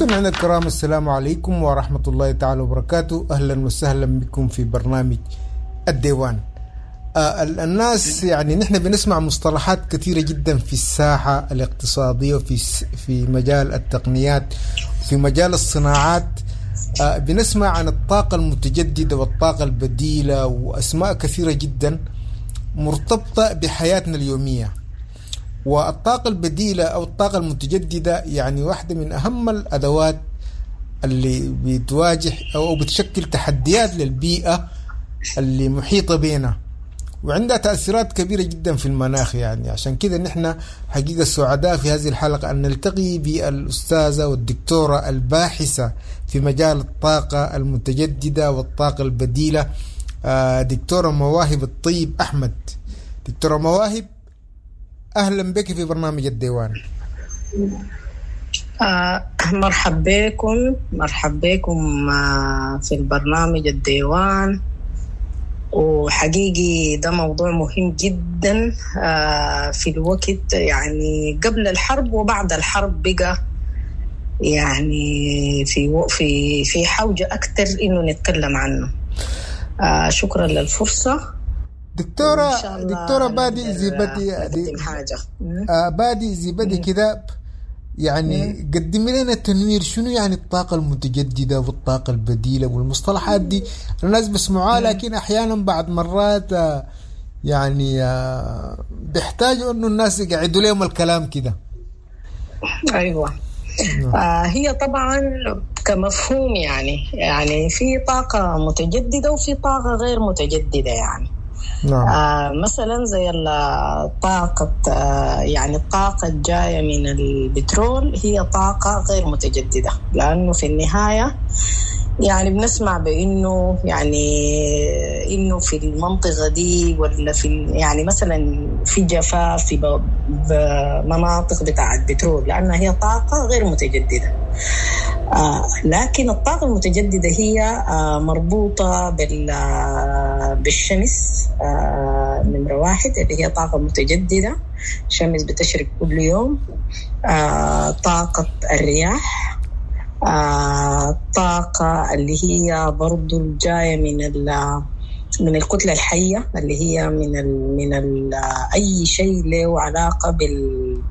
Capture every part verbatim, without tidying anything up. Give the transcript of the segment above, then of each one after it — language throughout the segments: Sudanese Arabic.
مستمعينا الكرام، السلام عليكم ورحمة الله تعالى وبركاته. أهلا وسهلا بكم في برنامج الديوان. آه الناس يعني نحن بنسمع مصطلحات كثيرة جدا في الساحة الاقتصادية وفي في مجال التقنيات، في مجال الصناعات. آه بنسمع عن الطاقة المتجددة والطاقة البديلة وأسماء كثيرة جدا مرتبطة بحياتنا اليومية. والطاقة البديلة أو الطاقة المتجددة يعني واحدة من أهم الأدوات اللي بتواجه أو بتشكل تحديات للبيئة اللي محيطة بينا، وعندها تأثيرات كبيرة جدا في المناخ. يعني عشان كده نحن حقيقة سعداء في هذه الحلقة أن نلتقي بالأستاذة والدكتورة الباحثة في مجال الطاقة المتجددة والطاقة البديلة، دكتورة مواهب الطيب أحمد. دكتورة مواهب، أهلا بك في برنامج الديوان. آه مرحب بكم، مرحب بكم آه في البرنامج الديوان. وحقيقي ده موضوع مهم جدا آه في الوقت، يعني قبل الحرب وبعد الحرب بقى يعني في في في حوجة أكثر إنه نتكلم عنه. آه شكرا للفرصة دكتورة. دكتورة بادي زي بدي آه بادي زي بدي كده، يعني قدمي لنا التنوير، شنو يعني الطاقة المتجددة والطاقة البديلة والمصطلحات دي؟ الناس بسمعوها لكن أحيانا بعد مرات يعني بيحتاجوا إنه الناس يقعدوا لهم الكلام كده. أيوة. آه هي طبعا كمفهوم يعني يعني في طاقة متجددة وفي طاقة غير متجددة. يعني نعم. آه مثلا زي الطاقة، آه يعني الطاقة الجاية من البترول هي طاقة غير متجددة، لأنه في النهاية يعني بنسمع بأنه يعني إنه في المنطقة دي ولا في يعني مثلا في جفاف في مناطق بتاعة بترول، لأنها هي طاقة غير متجددة. آه لكن الطاقة المتجددة هي آه مربوطة بالشمس، آه نمرة واحد اللي هي طاقة متجددة، الشمس بتشرق كل يوم. آه طاقة الرياح، آه طاقة اللي هي برضو الجاية من ال من الكتلة الحية اللي هي من ال من ال أي شيء له علاقة بال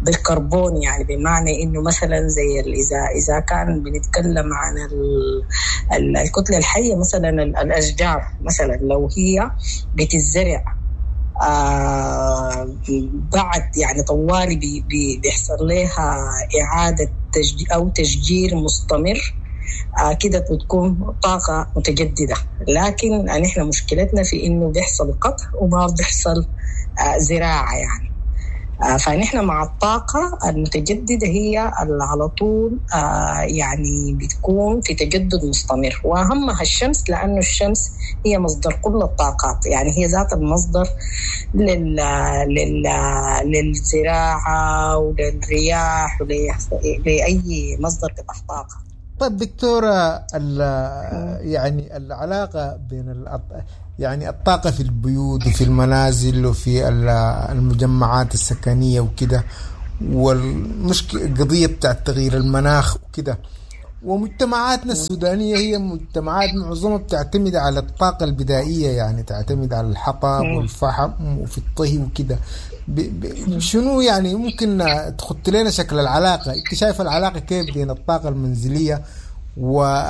بالكربون، يعني بمعنى إنه مثلا زي إذا إذا كان بنتكلم عن ال الكتلة الحية مثلا الأشجار مثلا لو هي بتزرع آه بعد يعني طوالي بي بي بيحصل لها إعادة تشجير أو تشجير مستمر، آه كده بتكون طاقة متجددة. لكن نحن مشكلتنا في إنه بيحصل قطع وما بيحصل آه زراعة يعني. آه فنحن مع الطاقة المتجددة هي اللي على طول آه يعني بتكون في تجدد مستمر، وأهمها الشمس، لأنه الشمس هي مصدر كل الطاقات، يعني هي ذات المصدر لل... لل... للزراعة وللرياح ولأي مصدر بتاع طاقة. طيب دكتورة، يعني العلاقة بين يعني الطاقة في البيوت وفي المنازل وفي المجمعات السكنية وكده، والمشكلة القضية بتاع تغيير المناخ وكده، ومجتمعاتنا السودانية هي مجتمعات معظمها بتعتمد على الطاقة البدائية، يعني تعتمد على الحطب والفحم وفي الطهي وكده. شنو يعني ممكن تخط لنا شكل العلاقة؟ انت شايف العلاقة كيف بين الطاقة المنزلية والطاقة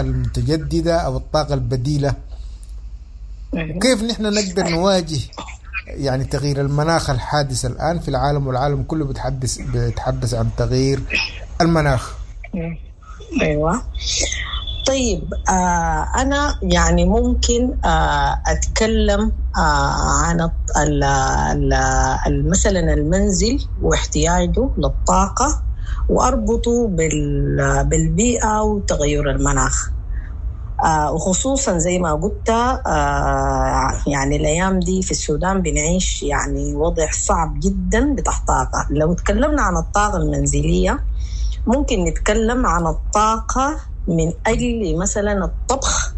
المتجددة أو الطاقة البديلة، وكيف نحن نقدر نواجه يعني تغيير المناخ الحادث الآن في العالم، والعالم كله بيتحدث بيتحدث عن تغيير المناخ؟ أيوة. طيب آه أنا يعني ممكن آه أتكلم آه عن ال ال مثلا المنزل واحتياجه للطاقة وأربطه بالبيئة وتغير المناخ. آه وخصوصا زي ما قلت آه يعني الأيام دي في السودان بنعيش يعني وضع صعب جدا بتاع طاقة. لو تكلمنا عن الطاقة المنزلية ممكن نتكلم عن الطاقة من أجل مثلا الطبخ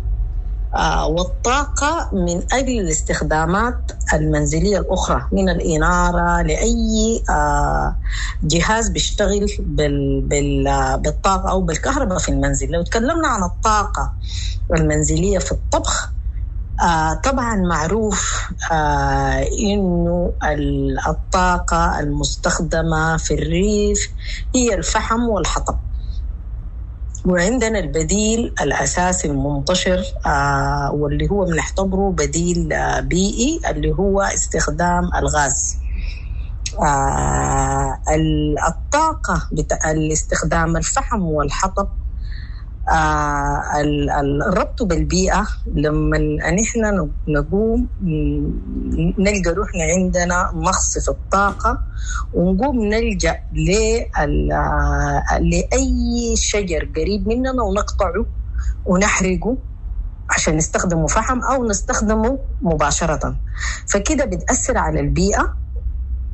آه والطاقة من أجل الاستخدامات المنزلية الأخرى، من الإنارة لأي آه جهاز بيشتغل بال بال بالطاقة أو بالكهرباء في المنزل. لو تكلمنا عن الطاقة المنزلية في الطبخ، آه طبعا معروف آه إنه الطاقة المستخدمة في الريف هي الفحم والحطب، وعندنا البديل الأساسي المنتشر آه واللي هو بنعتبره بديل آه بيئي اللي هو استخدام الغاز. آه الطاقة بتاع الاستخدام الفحم والحطب آه الربط بالبيئة، لما نحن نقوم نلقى روحنا عندنا نقص في الطاقة ونقوم نلجأ لأي شجر قريب مننا ونقطعه ونحرقه عشان نستخدمه فحم أو نستخدمه مباشرة، فكده بتأثر على البيئة.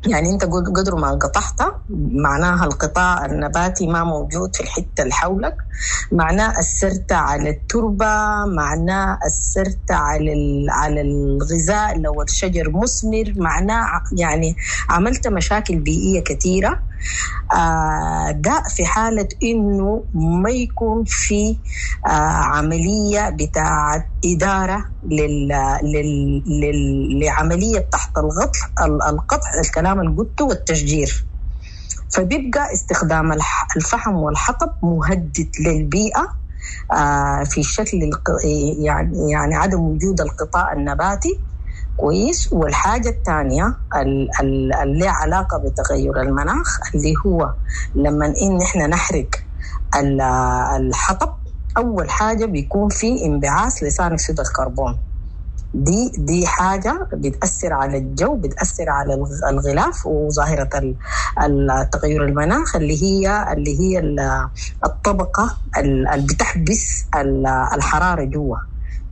يعني انت قدر ما قطعت معناها القطاع النباتي ما موجود في الحتة اللي حولك، معناه أثرت على التربة، معناه أثرت على على الغذاء لو الشجر مثمر، معناه يعني عملت مشاكل بيئية كثيرة. آه ده في حالة إنه ما يكون في آه عملية بتاعة إدارة لل لل لل لعملية تحت الغطل القطع الكلام اللي قلته والتشجير، فبيبقى استخدام الفحم والحطب مهدد للبيئة آه في شكل يعني يعني عدم وجود القطاع النباتي. كويس. والحاجة الثانية اللي علاقة بتغير المناخ اللي هو لما إن إحنا نحرق الحطب، أول حاجة بيكون في انبعاث لثاني أكسيد الكربون. دي دي حاجة بتأثر على الجو، بتأثر على الغلاف وظاهرة التغير المناخ اللي هي اللي هي الطبقة اللي بتحبس الحرارة جوا،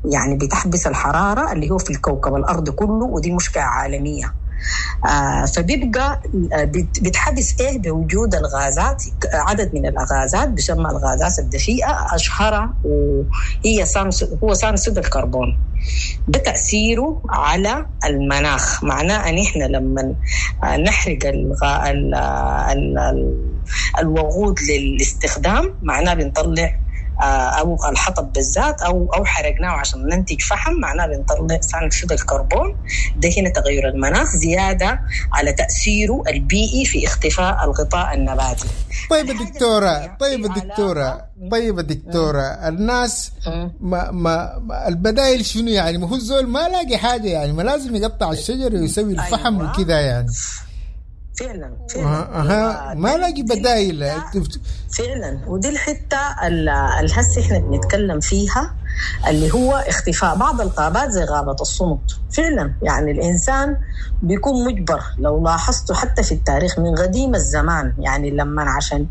يعني بتحبس الحرارة اللي هو في الكوكب الأرض كله، ودي مشكلة عالمية. آه فبيبقى بتحبس إيه بوجود الغازات، عدد من الغازات بيسمى الغازات الدفيئة، أشهرها وهي هو ثاني أكسيد الكربون. ده تأثيره على المناخ، معناه أن إحنا لما نحرق الغ... ال... ال... ال... الوقود للاستخدام معناه بنطلع أو الحطب بالذات أو أو حرقناه عشان ننتج فحم، معناه بنطلع ثاني أكسيد الكربون. ده هنا تغير المناخ زيادة على تأثيره البيئي في اختفاء الغطاء النباتي. طيب الدكتورة طيب الدكتورة طيب الدكتورة الناس ما ما البدائل شنو يعني؟ ما هو الزول ما لاقي حاجة يعني، ما لازم يقطع الشجر ويسوي الفحم أيوة. وكذا يعني. فعلا فعلا أه. ما لاقي بدايل فعلا. ودي الحتة الهسه احنا بنتكلم فيها اللي هو اختفاء بعض الغابات زي غابه الصمت. فعلا يعني الانسان بيكون مجبر، لو لاحظتوا حتى في التاريخ من قديم الزمان، يعني لما عشان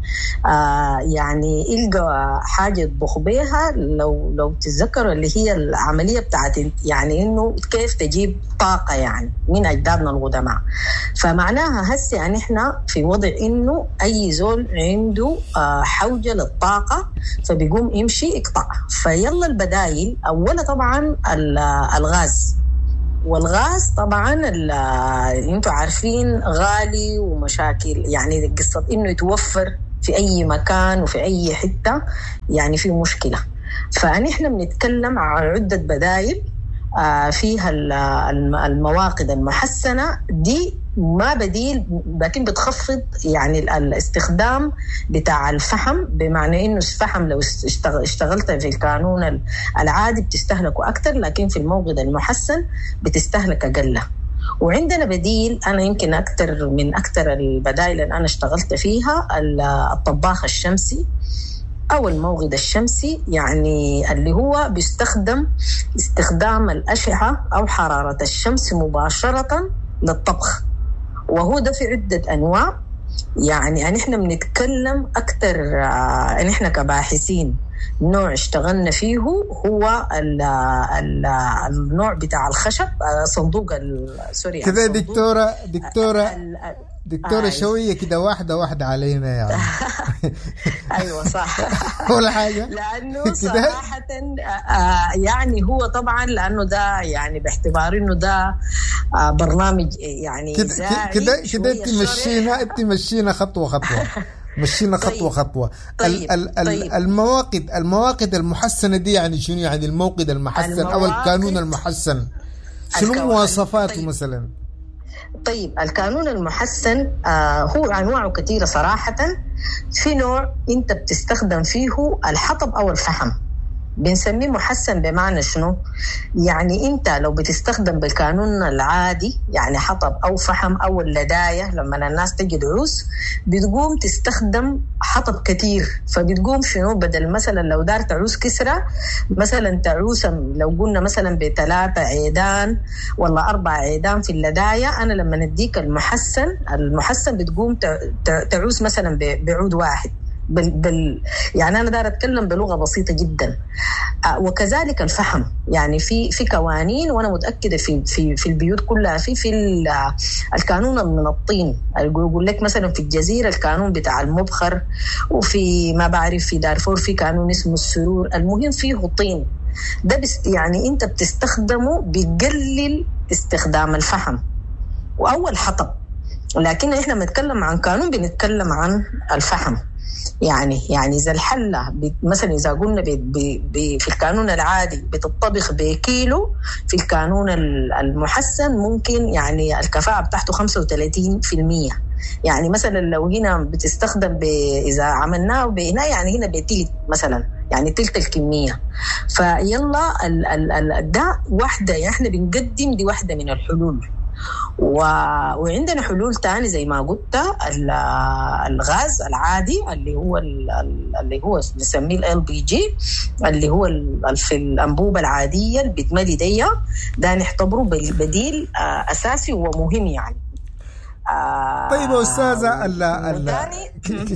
آه يعني يلقى حاجة يطبخ بيها، لو لو تتذكروا اللي هي العملية بتاعت يعني انه كيف تجيب طاقة يعني من اجدادنا القدماء. فمعناها هسه يعني احنا في وضع انه اي زول عنده آه حوجه للطاقة فبيقوم يمشي يقطع. فيلا البدايل اولا طبعا الغاز، والغاز طبعا انتوا عارفين غالي ومشاكل، يعني قصة انه يتوفر في اي مكان وفي اي حتة يعني في مشكلة. فنحن بنتكلم عن عده بدايل فيها المواقد المحسنه، دي ما بديل لكن بتخفض يعني الاستخدام بتاع الفحم، بمعنى انه الفحم لو اشتغلت في الكانون العادي بتستهلكه اكثر، لكن في الموقد المحسن بتستهلك اقل. وعندنا بديل انا يمكن اكثر من اكثر البدائل اللي انا اشتغلت فيها الطباخ الشمسي أو الموغد الشمسي، يعني اللي هو بيستخدم استخدام الأشعة أو حرارة الشمس مباشرة للطبخ، وهو ده في عدة أنواع. يعني نحن بنتكلم أكثر، نحن كباحثين نوع اشتغلنا فيه هو ال ال النوع بتاع الخشب، صندوق سوري كذا. دكتورة دكتورة دكتورة شوية كده واحدة واحدة علينا يعني. ايوه صح. ولا حاجة، لانه صراحة يعني هو طبعا لانه ده يعني باعتبار انه ده برنامج يعني كده كده كده انت مشينا انت مشينا خطوة خطوة مشينا خطوة. طيب. خطوة. طيب. ال ال طيب. المواقد المواقد المحسنة دي يعني شنو؟ يعني الموقد المحسن او الكانون المحسن شنو مواصفاته. طيب. مثلا طيب الكانون المحسن آه هو أنواعه كثيرة صراحة. في نوع أنت بتستخدم فيه الحطب أو الفحم، بنسميه محسن. بمعنى شنو؟ يعني أنت لو بتستخدم بالكانون العادي يعني حطب أو فحم أو اللداية، لما الناس تجي دعوس بتقوم تستخدم حطب كتير، فبتقوم شنو؟ بدل مثلا لو دار تعوس كسرة مثلا تعوس لو قلنا مثلا بثلاثة عيدان ولا أربع عيدان في اللداية، أنا لما نديك المحسن المحسن بتقوم تعوس مثلا بعود واحد. بال بال يعني أنا دار أتكلم بلغة بسيطة جدا. آه وكذلك الفحم، يعني في في كوانين، وأنا متأكدة في في في البيوت كلها في في الكانون من الطين، يقول لك مثلا في الجزيرة الكانون بتاع المبخر، وفي ما بعرف في دارفور في كانون اسمه السرور. المهم فيه طين ده، بس يعني أنت بتستخدمه بيقلل استخدام الفحم وأول حطب. لكن إحنا بنتكلم عن كانون بنتكلم عن الفحم. يعني يعني إذا الحلة مثلا إذا قلنا بي بي في الكانون العادي بتطبخ بكيلو، في الكانون المحسن ممكن يعني الكفاءة بتاعته خمسة وثلاثين بالمية. يعني مثلا لو هنا بتستخدم إذا عملناه بهنا يعني هنا بتلت مثلا، يعني تلت الكمية. فيلا ال ال ال ده واحدة، يعني احنا بنقدم دي واحدة من الحلول. و... وعندنا حلول تاني زي ما قلت، الغاز العادي اللي هو اللي هو نسميه ال بي جي، اللي هو في الأنبوبة العادية اللي بتملي دي، ده نعتبره بديل أساسي ومهم يعني. طيب يا أستاذة،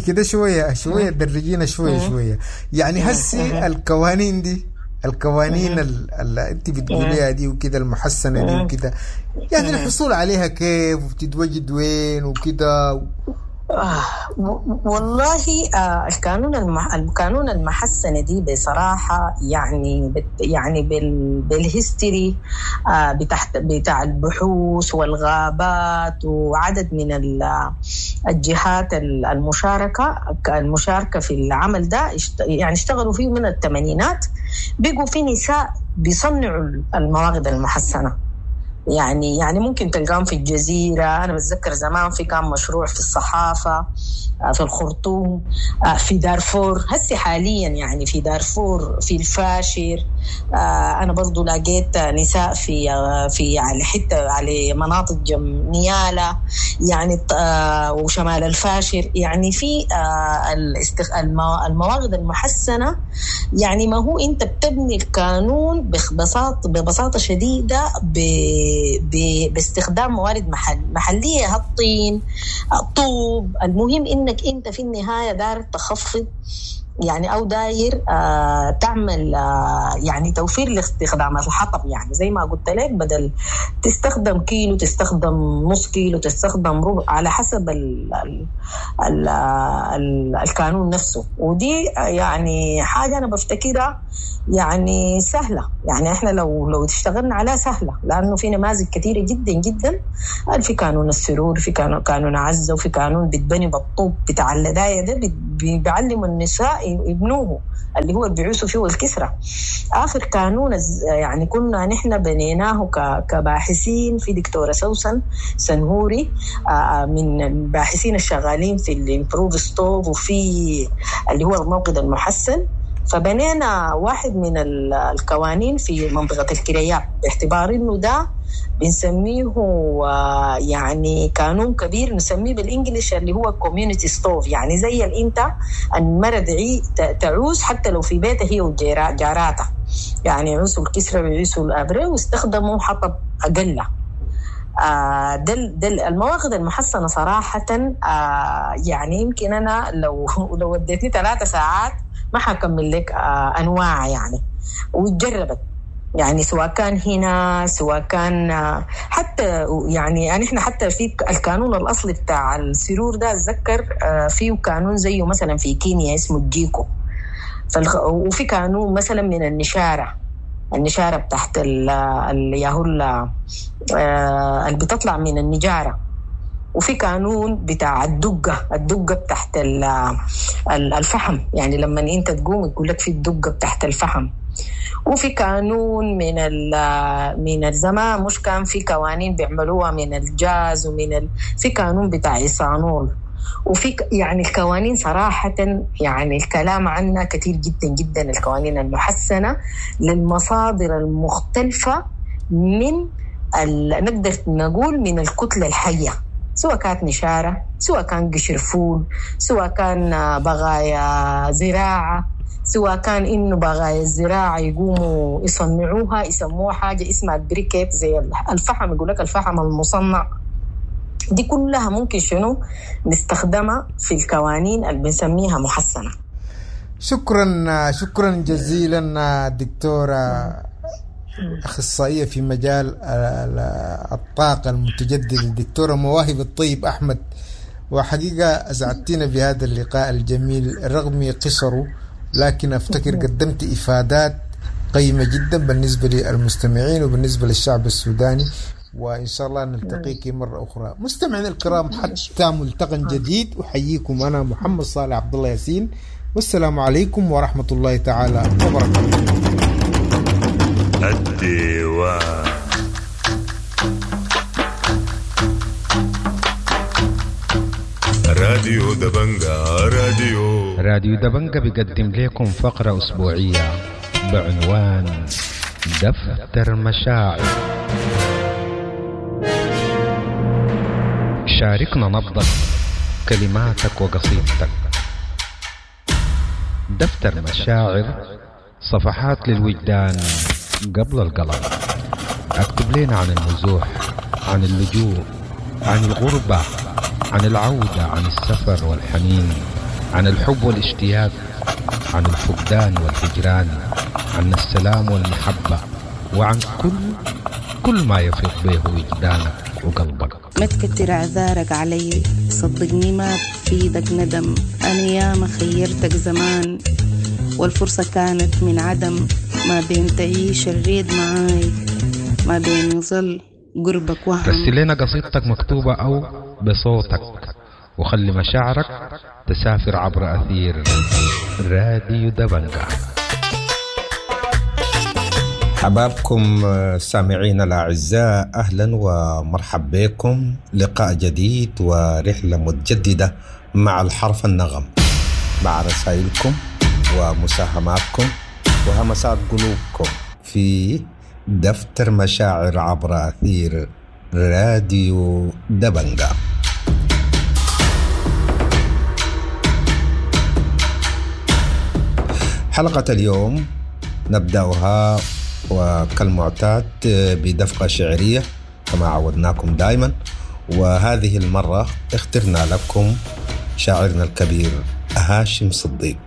كده شوية شوية درجينا شوية شوية يعني. هسي القوانين دي، القوانين اللي انت بتقوليها دي وكده، المحسنة دي وكده، يعني الحصول عليها كيف وبتتوجد وين وكده؟ آه والله آه القانون المح... القانون المحسنة دي بصراحة يعني بت... يعني بال... بالهيستوري آه بتاع بتاع البحوث والغابات وعدد من ال... الجهات المشاركة المشاركة في العمل ده، يعني اشتغلوا فيه من الثمانينات. بقوا في نساء بيصنعوا المواقد المحسنة، يعني يعني ممكن تلقاهم في الجزيرة. أنا بتذكر زمان في كان مشروع في الصحافة، في الخرطوم، في دارفور. هسي حاليا يعني في دارفور، في الفاشر، أنا برضو لقيت نساء في في على حتة على مناطق جم نيالة يعني، وشمال الفاشر. يعني في المواقد المحسنة، يعني ما هو أنت بتبني القانون ببساطة ببساطة شديدة ب باستخدام موارد محل محلية، الطين، الطوب. المهم انك انت في النهاية داير تخفض يعني، او داير آه تعمل آه يعني توفير لاستخدام الحطب. يعني زي ما قلت لك، بدل تستخدم كيلو تستخدم نص كيلو تستخدم ربع، على حسب ال ال ال ال القانون نفسه. ودي يعني حاجة أنا بفتكرها يعني سهلة، يعني احنا لو لو اشتغلنا عليها سهلة، لأنه في نماذج كثيرة جدا جدا. في قانون السرور، في قانون قانون عزة، وفي قانون بتبني بالطوب بتاع اللداية ده، بيعلموا النساء يبنوه اللي هو بيعوسوا فيه الكسرة. آخر قانون يعني كنا نحن بنيناه كباحثين، في دكتورة سوسن سنهوري من الباحثين الشغالين في ال improved stove وفي اللي هو الموقد المحسن. فبنينا واحد من القوانين في منطقة الكرياب، باعتبار انه ده بنسميه يعني قانون كبير، نسميه بال English اللي هو community stove. يعني زي اللي انت المرة تعوس حتى لو في بيتها هي وجاراتها، يعني يعوسوا الكسرة ويعوسوا الأبري، واستخدموا حطب أقل. آه دل دل المواقد المحسنة صراحة، آه يعني يمكن أنا لو لو وديتني ثلاثة ساعات ما حكمل لك آه أنواع يعني، وتجربت. يعني سواء كان هنا سواء كان حتى يعني نحن حتى في الكانون الأصلي بتاع السرور ده أتذكر فيه كانون زيه مثلا في كينيا اسمه الجيكو، وفي كانون مثلا من النشارة، النشارة بتاعت الياهو اللي بتطلع من النجارة، وفي كانون بتاع الدقة، الدقة بتاعت الفحم، يعني لما انت تقوم يقول لك في الدقة بتاعت الفحم. وفي كانون من من الزمان مش كان في قوانين بيعملوها من الجاز ومن ال... في قانون بتاع إيثانول، وفي يعني القوانين صراحة يعني الكلام عنها كثير جدا جدا، القوانين المحسنة للمصادر المختلفة من ال... نقدر نقول من الكتلة الحية، سواء كانت نشارة، سواء كان قشر فول، سواء كان بغايا زراعة، سواء كان إنه بغايا الزراعة يقوموا يصنعوها يسموها حاجة اسمها البريكيت زي الفحم، يقول لك الفحم المصنع. دي كلها ممكن شنو نستخدمها في القوانين اللي بنسميها محسنة. شكرا شكرا جزيلا دكتورة أخصائية في مجال الطاقة المتجددة الدكتورة مواهب الطيب أحمد، وحقيقة أسعدتنا بهذا اللقاء الجميل رغم قصره، لكن أفتكر قدمت إفادات قيمة جدا بالنسبة للمستمعين وبالنسبة للشعب السوداني، وإن شاء الله نلتقيك مرة أخرى. مستمعين الكرام، حتى ملتقى جديد أحييكم أنا محمد صالح عبد الله ياسين، والسلام عليكم ورحمة الله تعالى وبركاته. الديوان راديو دبنجا، راديو راديو دبنجا بيقدم لكم فقرة أسبوعية بعنوان دفتر مشاعر. شاركنا نبضك، كلماتك وقصيدتك. دفتر مشاعر، صفحات للوجدان قبل القلم. اكتب لنا عن النزوح، عن اللجوء، عن الغربة، عن العودة، عن السفر والحنين، عن الحب والاشتياق، عن الفقدان والهجران، عن السلام والمحبة، وعن كل كل ما يفيض به وجدانك وقلبك. ما تكتر اعذارك علي، صدقني ما بفيدك ندم، انا ياما خيرتك زمان والفرصة كانت من عدم، ما بين تعيش الريد معاي، ما بين يظل قربك وهم. رسل لنا قصيدتك مكتوبة أو بصوتك، وخلي مشاعرك تسافر عبر أثير راديو دبنجا. حبابكم سامعين الأعزاء، أهلا ومرحب بكم. لقاء جديد ورحلة متجددة مع الحرف النغم، مع رسائلكم ومساهماتكم وهمسات قلوبكم في دفتر مشاعر عبر أثير راديو دبنجا. حلقة اليوم نبدأها وكالمعتاد بدفقة شعرية كما عودناكم دائما، وهذه المرة اخترنا لكم شاعرنا الكبير هاشم صديق.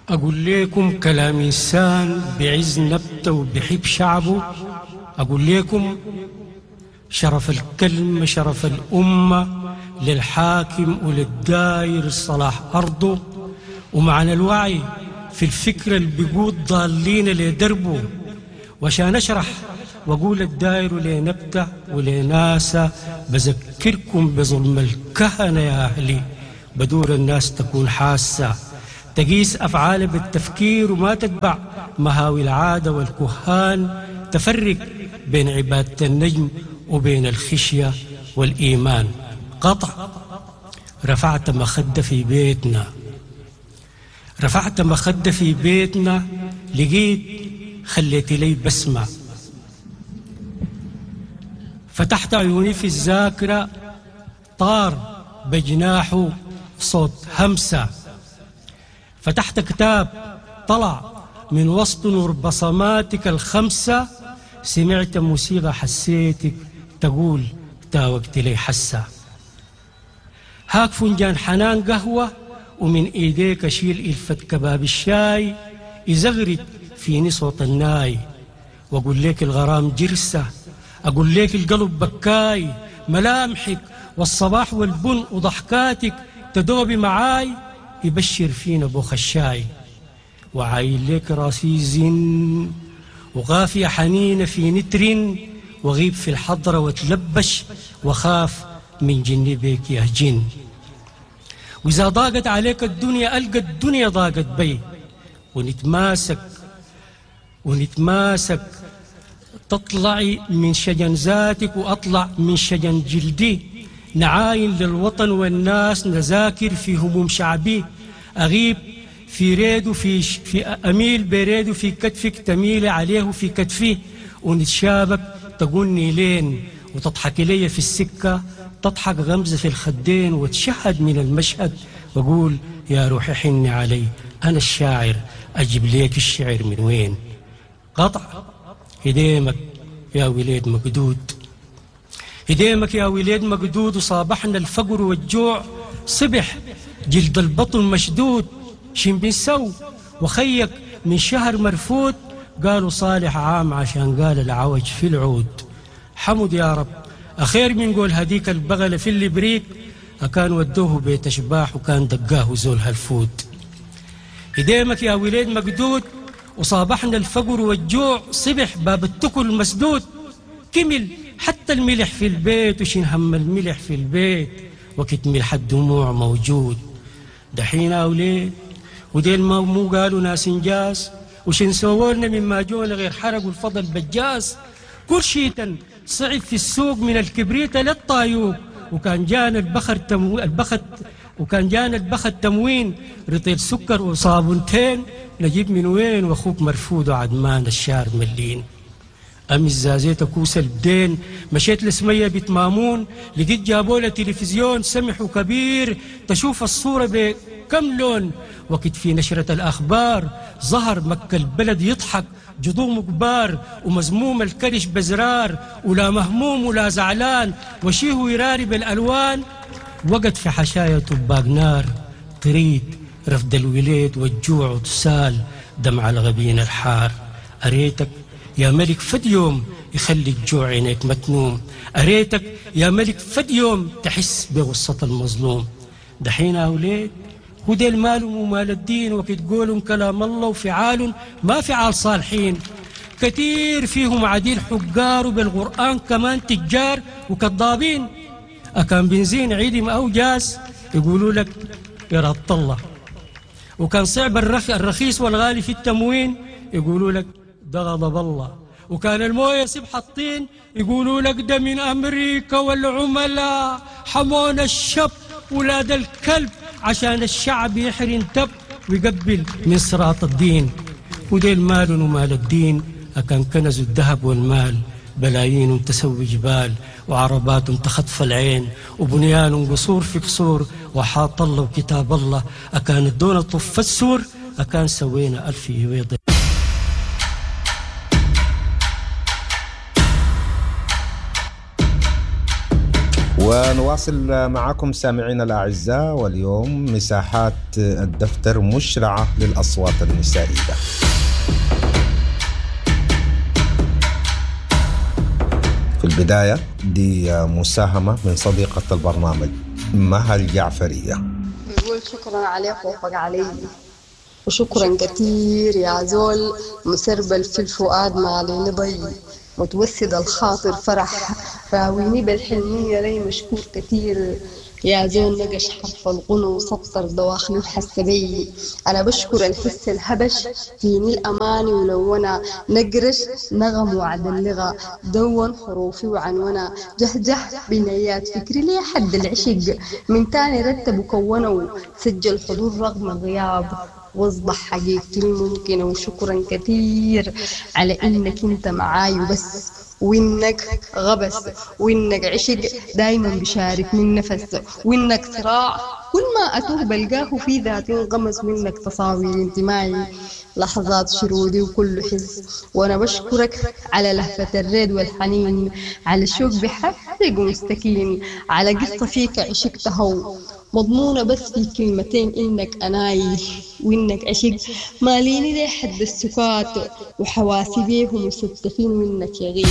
أقول لكم كلام إنسان بعز نبته وبحب شعبه، أقول لكم شرف الكلمة شرف الأمة للحاكم وللداير صلاح أرضه، ومعنى الوعي في الفكرة اللي بيقود ضالين لدربه، وعشان أشرح وأقول الداير لنبته ولناسة بذكركم بظلم الكهنة يا أهلي، بدور الناس تكون حاسة تقيس أفعاله بالتفكير وما تتبع مهاوي العادة والكهان، تفرق بين عبادة النجم وبين الخشية والإيمان. قطع رفعت مخدة في بيتنا، رفعت مخدة في بيتنا، لقيت خليت لي بسمة، فتحت عيوني في الذاكرة طار بجناحه صوت همسة، فتحت كتاب طلع من وسط نور بصماتك الخمسة، سمعت موسيقى حسيتك تقول تاوقت لي حسة، هاك فنجان حنان قهوة ومن ايديك اشيل الفة كباب الشاي، يزغرد فيني صوت الناي وأقول لك الغرام جرسة، أقول لك القلب بكاي، ملامحك والصباح والبن وضحكاتك تدوبي معاي، يبشر فينا بوخ الشاي. وعايل لك راسي زن وغافية حنينة في نتر، وغيب في الحضرة وتلبش وخاف من جني بيك يا جن. وإذا ضاقت عليك الدنيا ألقى الدنيا ضاقت بي، ونتماسك ونتماسك تطلعي من شجن ذاتك وأطلع من شجن جلدي، نعاين للوطن والناس نذاكر في هموم شعبي، أغيب في ريد في, في أميل بريد في كتفك تميل عليه في كتفي، ونتشابك تقولني لين وتضحك لي في السكة، تضحك غمزة في الخدين وتشهد من المشهد، وأقول يا روحي حني علي أنا الشاعر أجيب ليك الشعر من وين. قطع هديمك يا وليد مقدود، هديمك يا وليد مقدود، وصابحنا الفقر والجوع صبح جلد البطن مشدود، شين بنسو وخيك من شهر مرفوت، قالوا صالح عام عشان قال العوج في العود. حمد يا رب أخير من قول هديك البغلة في اللي بريك، أكان ودوه بيت أشباح وكان دقاه زول هالفوت. هديمك يا وليد مقدود، وصابحنا الفقر والجوع صبح باب التكل مسدود، كمل حتى الملح في البيت وشين هم الملح في البيت وقت ملح الدموع موجود. دحين أوليد وديل ما مو قالوا ناس انجاز، وشين سوولنا مما جونا غير حرقوا الفضل بجاز، كل شيء صعب في السوق من الكبريت للطايوق، وكان جانا البخر تمو... البخت وكان جانا البخت تموين رطيل سكر وصابونتين نجيب من وين واخوك مرفوض وعدمان الشار ملين. أمس زازيت كوس البدين مشيت لسمية بيت مامون، لقيت جابولة تلفزيون سمح وكبير تشوف الصورة بكم لون، وقت في نشرة الأخبار ظهر مكة البلد يضحك جضوم كبار ومزموم الكرش بزرار، ولا مهموم ولا زعلان وشيه يراري بالألوان، وقت في حشايا طباق نار تريد رفد الوليد والجوع وتسال دمع الغبين الحار. أريتك يا ملك فد يوم يخلي الجوع عينيك متنوم، أريتك يا ملك فد يوم تحس بغصة المظلوم. دحين أوليد وديل مالهم ومال الدين، وقت قولهم كلام الله وفعال ما فعال صالحين، كثير فيهم عديل حجار وبالقرآن كمان تجار وكذابين، أكان بنزين عيدم أو جاز يقولوا لك إرادة الله، وكان صعب الرخيص والغالي في التموين يقولوا لك ده غضب الله، وكان المويه سبح الطين يقولوا لك ده من أمريكا والعملاء حمونا الشب ولاد الكلب عشان الشعب يحرن تب ويقبل من صراط الدين. وديل مال ومال الدين أكان كنزوا الذهب والمال، بلايين تسوي جبال وعربات تخطف العين وبنيان قصور في قصور، وحاط الله وكتاب الله أكان الدون طف السور، أكان سوينا ألف يويض. ونواصل معكم سامعينا الأعزاء، واليوم مساحات الدفتر مشرعة للأصوات النسائية. في البداية دي مساهمة من صديقة البرنامج مها الجعفرية. بيقول شكرا على خوفك علي، وشكرا كثير يا زول مسربل في الفؤاد ما عليني ضي، متوسد الخاطر فرح راويني بالحنية لي مشكور كثير يا زول نقش حرف الغنو وسطر دواخلي وحس بي. أنا بشكر الحس الهبش فيني الأماني ولونا نقرش نغم وعد اللغة دون حروفي وعنونا جهجه بنيات فكري لي حد العشق من تاني رتب وكونوا سجل حضور رغم الغياب واصبح حقيقتي الممكنة. وشكرا كثير على إنك أنت معاي وبس، وإنك غبس، وإنك عشق دايما بشارك من نفس، وإنك صراع كل ما أتوه بلقاه في ذاتي انغمس، منك تصاوير انتمائي لحظات شرودي وكل حس. وأنا بشكرك على لهفة الريد والحنين، على الشوق بحرق ومستكين، على قصة فيك عشقتها مضمونة بس في كلمتين إنك أناي وإنك عشق، ماليني لي حد السكات وحواسي بيهم مستفين منك يغيب.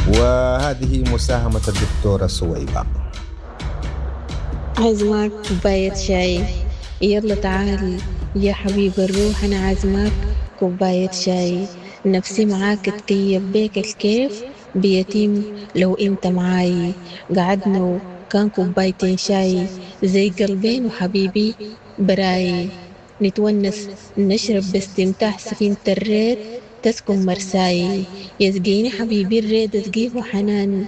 وهذه مساهمة الدكتورة سويبة. عازماك كوباية شاي، يلا تعال يا حبيب الروح، أنا عازماك كوباية شاي، نفسي معاك تكيف بيك الكيف بيتم لو انت معاي. قعدنا وكان كوبايتين شاي زي قلبين وحبيبي براي، نتونس نشرب باستمتاع سفينة الريد تسكن مرساي، يسقيني حبيبي الريد اسقيه حنان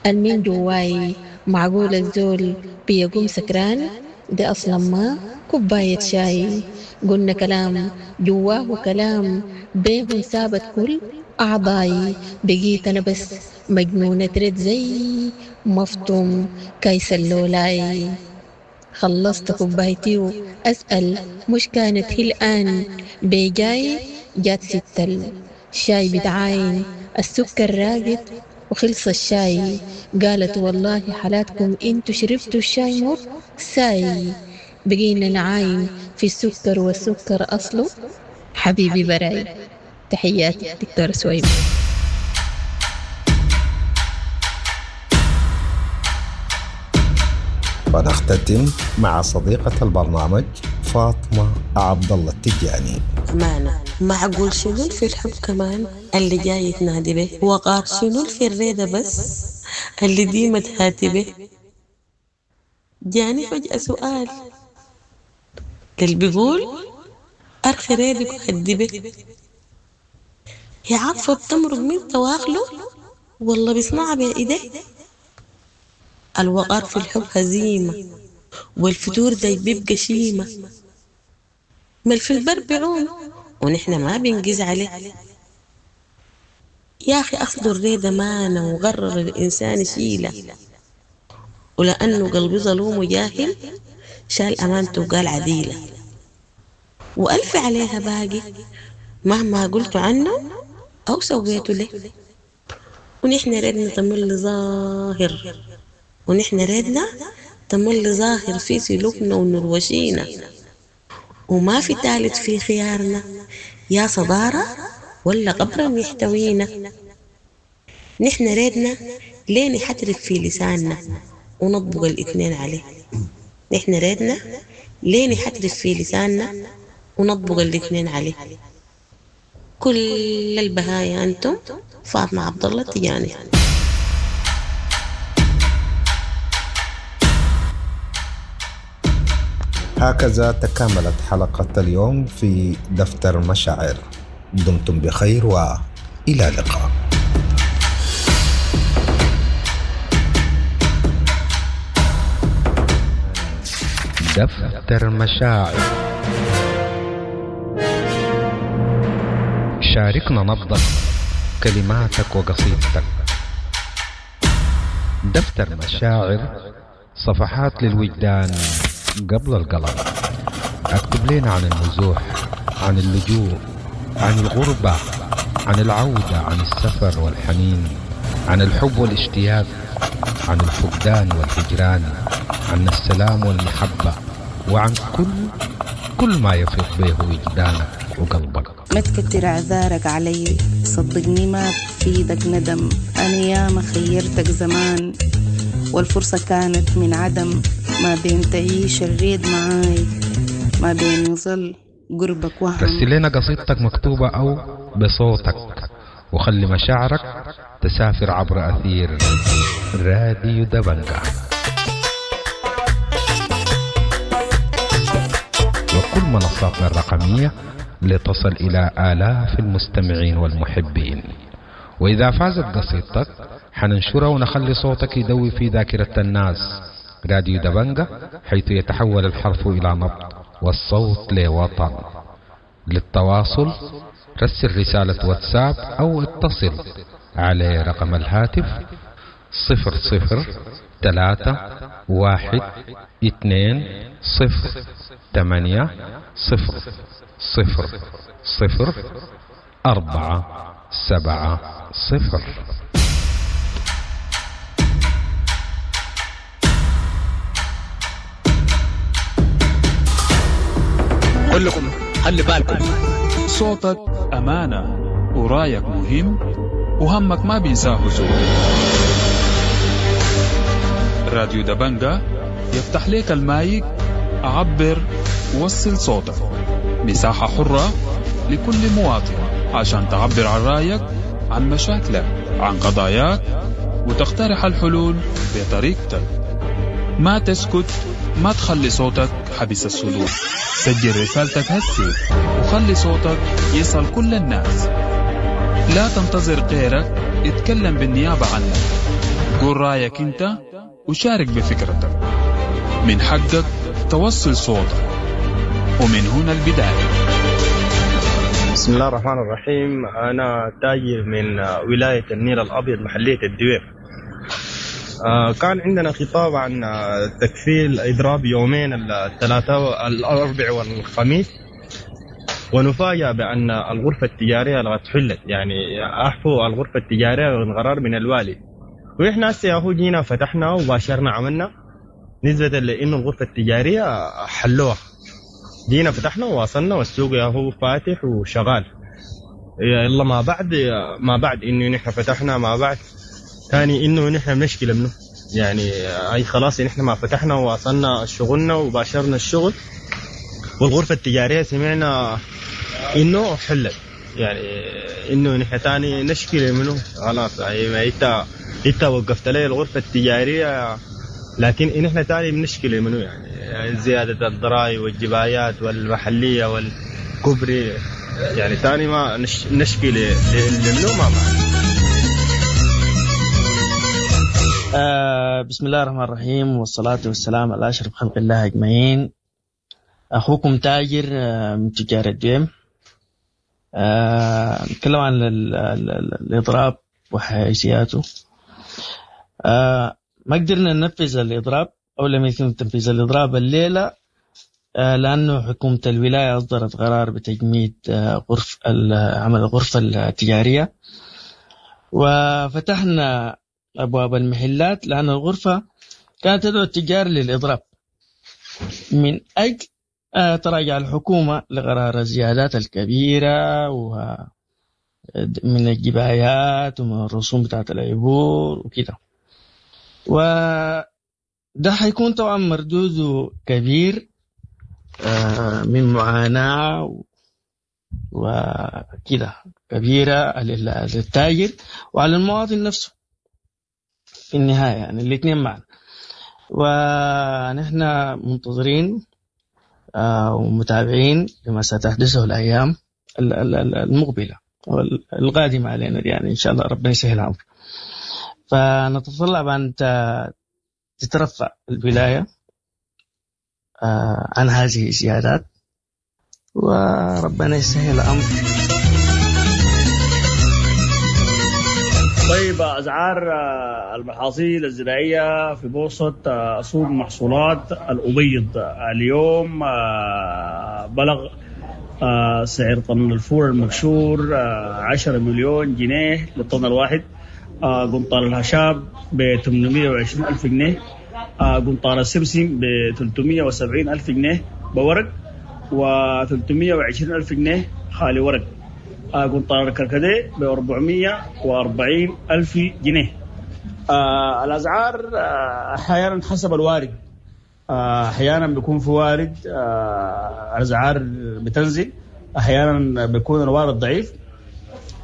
المن جواي، معقول الزول بيقوم سكران ده أصلا ما كوباية شاي. قلنا كلام جواه كلام بيه سابت كل أعضاي، بقيت أنا بس مجنونة رد زي مفطوم كيس اللولاي. خلصت كوبايتي وأسأل مش كانت هي الآن بجاي، جات ست الشاي بتعاين السكر راقد وخلص الشاي، قالت والله حالاتكم انتو شربتوا الشاي مر ساي. بقينا نعاين في السكر والسكر أصله حبيبي براي. تحياتي دكتور سويبة. ونختتم مع صديقة البرنامج فاطمة عبد الله التجاني. أمانة معقول شنو في الحب كمان اللي جاي تنادي به، وقار شنو في الريدة بس اللي ديما تهاتي به. جاني فجأة سؤال اللي بيقول أرخي ريدك وهدي به، هي عارفة بتمرق من تواخله والله بيصنعها بإيديه. الوقار في الحب هزيمة والفتور ده بيبقى شيمة، ما في البر بعوم ونحن ما بنجز عليه. يا أخي أصل الريدة مانة وغرر الإنسان شيلة، ولأنه قلبي ظلوم وجاهل شال أمانته وقال عديلة، وألف عليها باقي مهما قلت عنه أو سويته له. ونحن ريدنا تمل ظاهر، ونحن ريدنا تمل ظاهر في سلوكنا ونروشينا، وما في تالت في خيارنا يا صدارة ولا قبرا يحتوينا. نحن ريدنا لين يحترف في لساننا ونطبق الاثنين عليه، نحن ريدنا لين يحترف في لساننا ونطبق الاثنين عليه. كل البهاية أنتم. فاطمة عبد الله التجاني. هكذا تكاملت حلقة اليوم في دفتر مشاعر. دمتم بخير وإلى اللقاء. دفتر مشاعر، شاركنا نبضك، كلماتك وقصيدتك. دفتر مشاعر، صفحات للوجدان قبل القلم. اكتب لنا عن النزوح، عن اللجوء، عن الغربة، عن العودة، عن السفر والحنين، عن الحب والاشتياق، عن الفقدان والهجران، عن السلام والمحبة، وعن كل كل ما يفيض به وجدانك وقلبك. ما تكتر اعذارك علي، صدقني ما بفيدك ندم، انا ياما خيرتك زمان والفرصة كانت من عدم، ما بين تعيش الريد معاي ما بين يظل قربك وهم. رسل لنا قصيدتك مكتوبة أو بصوتك، وخلي مشاعرك تسافر عبر أثير راديو دبنجا وكل منصاتنا الرقمية لتصل إلى آلاف المستمعين والمحبين. وإذا فازت قصيدتك حننشرها ونخلي صوتك يدوي في ذاكرة الناس. راديو دبنجا، حيث يتحول الحرف إلى نبض والصوت لوطن. للتواصل رسل رسالة واتساب أو اتصل على رقم الهاتف صفر صفر ثلاثة واحد اثنين صفر ثمانية صفر صفر صفر أربعة سبعة صفر. كلكم خلي بالكم. صوتك أمانة ورايك مهم وهمك ما بينساه زول. راديو دبنجة يفتح لك المايك، عبر، وصل صوتك، مساحة حرة لكل مواطن عشان تعبر عن رأيك، عن مشاكلك، عن قضاياك، وتقترح الحلول بطريقتك. ما تسكت، ما تخلي صوتك حبس الصدور. سجل رسالتك هسي وخلي صوتك يصل كل الناس. لا تنتظر غيرك يتكلم بالنيابة عنك. قول رأيك انت وشارك بفكرتك. من حقك توصل صوتك، ومن هنا البداية. بسم الله الرحمن الرحيم. أنا تاجر من ولاية النيل الأبيض، محلية الدوير. كان عندنا خطاب عن تكفيل إضراب يومين، الثلاثاء الأربع والخميس، ونفاجأ بأن الغرفة التجارية لقد حلت، يعني أحفوا الغرفة التجارية من قرار من الوالي. وإحنا هسه ياهو جينا فتحنا وباشرنا عملنا، نسبة لأنه الغرفة التجارية حلوها. جينا فتحنا وواصلنا والسوق ياهو فاتح وشغال. يلا ما بعد ما بعد إنه نحن فتحنا، ما بعد ثاني إنه نحن مشكلة منه، يعني أي خلاص نحن ما فتحنا وواصلنا شغلنا وباشرنا الشغل، والغرفة التجارية سمعنا إنه حلت، يعني إنه نحن ثاني نشكل منه خلاص. يعني ما إنت إنت وقفت لي الغرفة التجارية، لكن نحن ثاني بنشكل منه، يعني زيادة الضرائب والجبايات والمحلية والكبري، يعني ثاني ما نش نشكل منه ما معنا. آه بسم الله الرحمن الرحيم، والصلاة والسلام على أشرف خلق الله أجمعين. أخوكم تاجر من تجار الديم. آه نتكلم عن ال ال ال الإضراب وحيثياته. آه ما قدرنا ننفذ الإضراب أو لم يتم تنفيذ الإضراب الليلة، آه لأنه حكومة الولاية أصدرت قرار بتجميد آه غرف عمل الغرفة التجارية، وفتحنا أبواب المحلات لأن الغرفة كانت تدعو التجار للإضراب من أجل تراجع الحكومة لقرار الزيادات الكبيرة ومن الجبايات ومن الرسوم بتاعت العبور وكده، وده حيكون طبعا مردوده كبير من معاناة وكده كبيرة للتاجر وعلى المواطن نفسه في النهاية، يعني الاثنين معا. ونحن منتظرين ومتابعين لما ستحدثه الأيام المقبلة والقادمة علينا، يعني إن شاء الله ربنا يسهل الأمر. فنتطلع بأن تترفع الولاية عن هذه الزيادات، وربنا يسهل الأمر. طيب، أسعار المحاصيل الزراعية في بورصة سوق محصولات الأبيض اليوم بلغ سعر طن الفول المبشور عشرة مليون جنيه للطن الواحد، قنطار الهشاب ب ثمانمائة وعشرين ألف جنيه، قنطار السمسم ب ثلاثمائة وسبعين ألف جنيه بورق، و ثلاثمائة وعشرين ألف جنيه خالي ورق، قنطار الكركديه ب أربعمائة وأربعين ألف جنيه. آه الأسعار أحيانا حسب الوارد، أحيانا بيكون في وارد آه الأسعار بتنزل، أحيانا بيكون الوارد ضعيف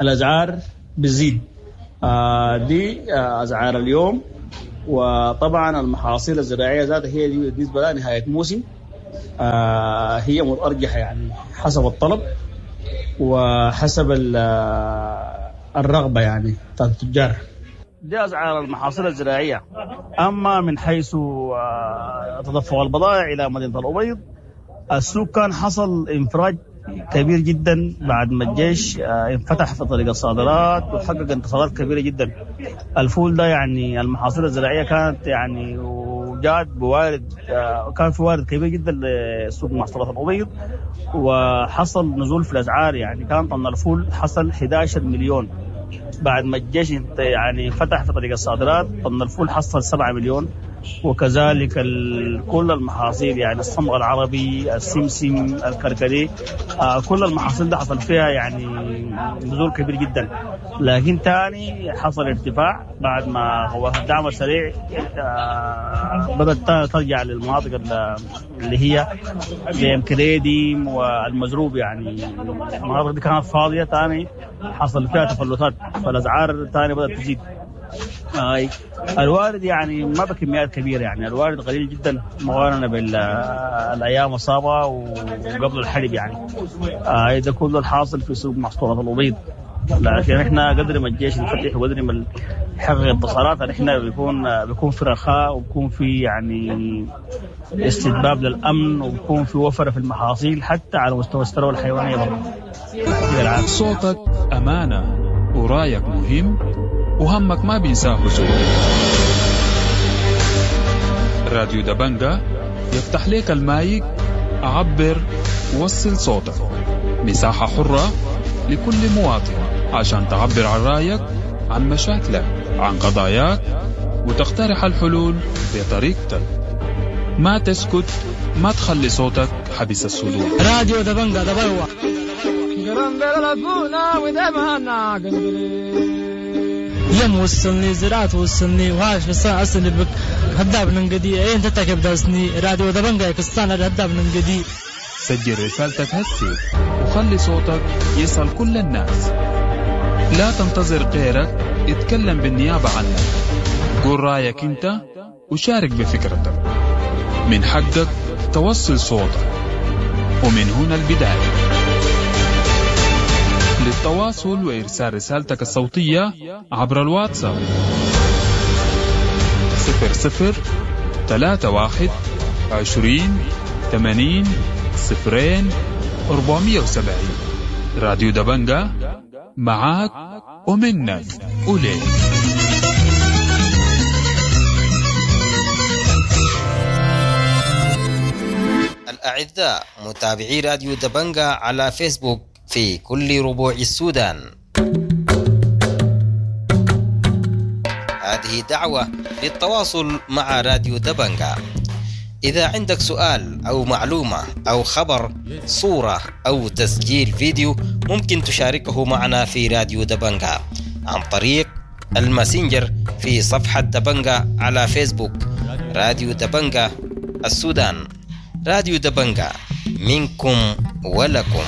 الأسعار بتزيد. آه دي آه أسعار اليوم. وطبعا المحاصيل الزراعية ذاتها هي دي بالنسبة لها نهاية موسم، آه هي متأرجحة يعني حسب الطلب وحسب الرغبة يعني بتاعت التجار. دي أسعار المحاصيل الزراعية. أما من حيث تدفق البضائع إلى مدينة الأبيض، السوق كان حصل انفراج كبير جدا بعد ما الجيش انفتح في طريق الصادرات وحقق انتصارات كبيرة جدا. الفول ده يعني المحاصيل الزراعية كانت يعني وجات بوارد، كان في وارد كبير جدا لسوق محصولات الأبيض، وحصل نزول في الأسعار. يعني كان طن الفول حصل أحد عشر مليون بعد ما الجيش يعني فتح في طريق الصادرات، طن الفول حصل سبعة مليون وكذلك كل المحاصيل يعني الصمغ العربي، السمسم، الكركديه، آه كل المحاصيل ده حصل فيها يعني نزول كبير جدا. لكن تاني حصل ارتفاع بعد ما هو الدعم السريع آه بدأت ترجع للمناطق اللي هي زي كريدي والمزروب، يعني المناطق دي كانت فاضية، تاني حصل فيها تفلتات فالأسعار تاني بدأت تزيد. آه الوارد يعني ما بكميات كبيرة، يعني الوارد قليل جدا مقارنة بالأيام السابقة وقبل الحرب يعني. آه ده كله الحاصل في سوق محصولات الأبيض. لكن احنا قدر ما الجيش ينفتح وقدر ما يحقق انتصارات احنا بيكون بيكون في رخاء وبيكون في يعني استتباب للأمن وبيكون في وفرة في المحاصيل حتى على مستوى الثروة الحيوانية برضه. صوتك أمانة ورايك مهم وهمك ما بينساه زول. راديو دبنجا يفتح لك المايك، عبر، وصل صوتك. مساحة حرة لكل مواطن عشان تعبر عن رأيك، عن مشاكلك، عن قضاياك، وتقترح الحلول بطريقتك. ما تسكت، ما تخلي صوتك حبس الصدور. راديو دبنجا دبلوة. يم وصلني زراعة وصلني وهاش بس أصلي بك هداب ننقدي أين تتكب داسني راديو دبنجا يكستان هداب ننقدي. سجل رسالتك هسي وخلي صوتك يصل كل الناس. لا تنتظر غيرك يتكلم بالنيابة عنك. قول رأيك انت وشارك بفكرتك. من حقك توصل صوتك، ومن هنا البداية. للتواصل وإرسال رسالتك الصوتية عبر الواتساب صفر صفر ثلاثة واحد عشرين ثمانين صفرين أربعمية وسبعين. راديو دبنجا معاك ومنك وليك. الأعزاء متابعي راديو دبنجا على فيسبوك في كل ربوع السودان، هذه دعوة للتواصل مع راديو دبنجا. إذا عندك سؤال أو معلومة أو خبر، صورة أو تسجيل فيديو، ممكن تشاركه معنا في راديو دبنجا عن طريق الماسنجر في صفحة دبنجا على فيسبوك. راديو دبنجا السودان، راديو دبنجا منكم ولكم.